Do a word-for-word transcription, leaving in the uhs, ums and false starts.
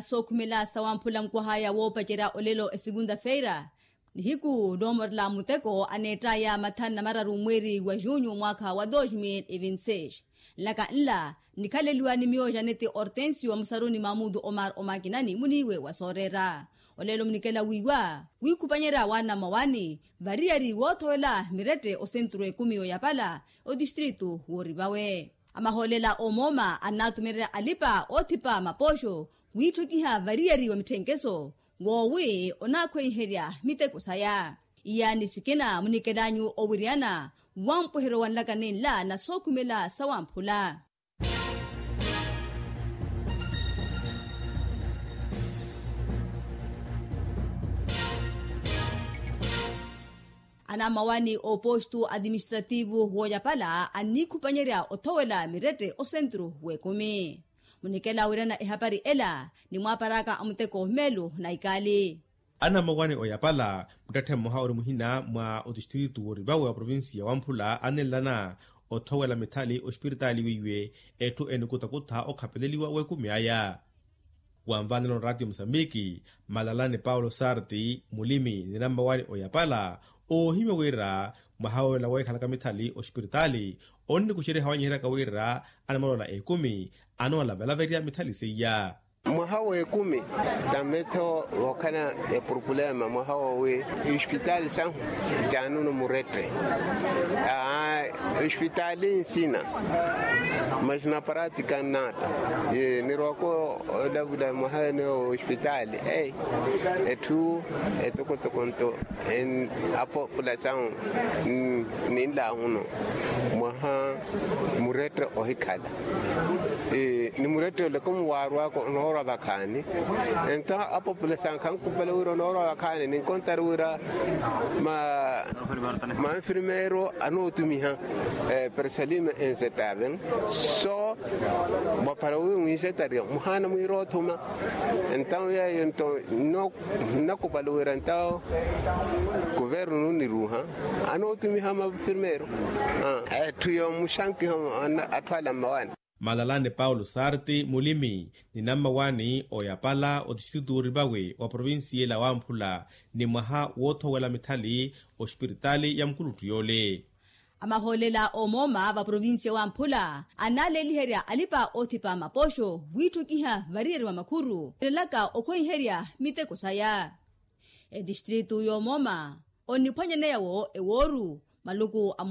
sookhumela sawamphula nkwahaya woopacerya olelo esegunta-feira, nihiku noomorela muteko aneettaya mathanu na mararu mweeri wa junyu mwaakha wa dos mil e vinti seis. Nlaka nla nikhaleliwa ni miyo janeti hortensio musaruni mamutu omar omakinani muniiwe wa sooreera. Olelo munikela wiiwa wiikhupanyerya waana mmawaani variyari woothowela mirette osenturu ekumi oyapala otistritu woorivawe. Amahoolela omooma annaatumererya alipa oothipa mapooxo wiitthukiha variyari wa mitthenkeso woowi onaakhweiherya miteko saya. Iyaani sikina munikelanyu owiriyana wampweheryo wa nlaka ninla na sookhumela sawamphula. Anamawani opostu atiministrativu wooyapala anniikhupanyerya othowela mirette osenturu w'ekumi. Munikela wirana ehapari ela nimwaaparaka amuteko meelu na ikaali. Anamawani oyapala muttetthe mmoha ori muhina mwa otistritu worivawe wa provincia wamphula anenlana othowela mithali ospiritaali weiwe etthu enikutakutha okhapeleliwa w'ekumi aya. Wanvanela onraatiyo musambiki malalani paulo sarti mulimi ni nammawani oyapala oohimya wira mwaha woolela weekhalaka mithali ospiritaali onnikuxerya hawanyiheryaka wira anamalola ekumi anoolavelaveriya mithali seiya. Mwaha w'ekumi tametho vookhana epurupulema mwaha woowi. Ospitaali sahu jaanunu murette. Aa ospitaali nsina mas na pratika nnata. Nirwako olavula mwaha ene ospitaali ei etthu etokotoko nto en apopulasawu ninlahuno mwaha murette ohikhala. Ni murette ole komu waarwako onoorwa vakhaani. Ento apopulasawu khankupale wira onoorwa vakhaani ninkontari wira ma manfirmeero anootumiha persalime enzetaven so mwaphara wi mwinxetariya muhaana mwiira othuma. Entawu yeeyo nto nnakupali wira entawu kuvernu nniruuha anootumiha mafirmeero etthu yoomuxankiha atthu ala mmawani. Malalani paulo sarti mulimi ni nammawani oyapala otistrituuri vawe wa provincia ela wamphula ni mwaha woothowela mithali ospiritaali ya mukuluttu yoole. Amahoolela oomooma va provincia wamphula annaaleeliherya alipa oothipa mapooxo wiitthukiha variyari wa makhuru elelaka okhweiherya miteko saya. Etistritu yoomooma onniphwanyaneya-wo ewooru maluku a